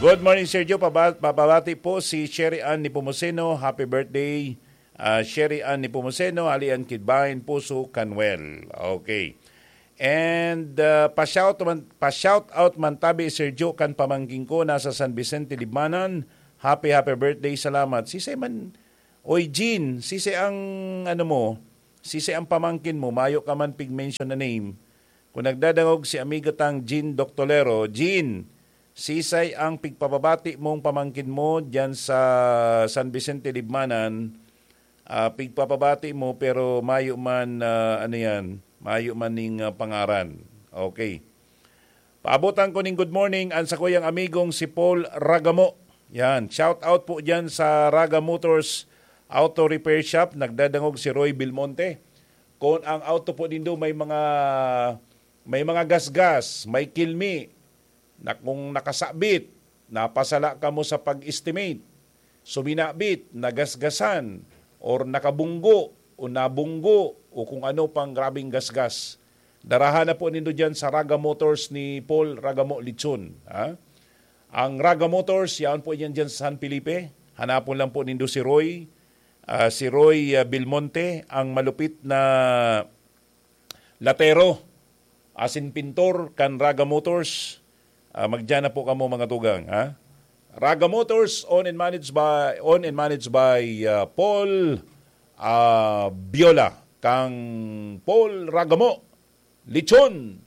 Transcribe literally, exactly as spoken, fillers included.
Good morning, Sergio. Paba-, papabati po si Sherry Ann Nepomuceno. Happy birthday, ah, Sherry Ann Nepomuceno, alian Kidbahin Puso, Canwell. Okay. And, ah, pa-shout man, pa-shout out man tabi, Sergio, kan pamangkin ko nasa San Vicente, Libmanan. Happy, happy birthday. Salamat. Si Simon, oy, Jean, sisay ang, ano mo, sisay ang pamangkin mo, mayo ka man pig-mention na name. Kung nagdadangog si amiga tang Jean Doctolero, Jean, sisay ang pigpapabati mong pamangkin mo diyan sa San Vicente, Libmanan, ah, pigpapabati mo pero mayo man, ah, ano yan, mayo man ning, ah, pangaran. Okay. Paabotan ko ning good morning an sakuyang amigong si Paul Ragamo. Yan, shout out po diyan sa Raga Motors Auto Repair Shop. Nagdadangog si Roy Belmonte. Kung ang auto po nindo may mga, may mga gasgas, may kilmi, na kung nakasabit, napasala kamo sa pag-estimate, suminabit, nagasgasan, or nakabunggo, o nabunggo, o kung ano pang grabing gasgas, darahan na po nindo dyan sa Raga Motors ni Paul Ragamo Lichon. Ha? Ang Raga Motors, yaon po yan dyan sa San Felipe. Hanapon lang po nindo si Roy. Ah, si Roy, ah, Belmonte, ang malupit na latero, asin pintor kan Raga Motors. Ah, magdiyan na po kamo, mga tugang, ha? Raga Motors, owned and managed by, owned and managed by, ah, Paul, ah, Biola, kang Paul Ragamo, Lichon,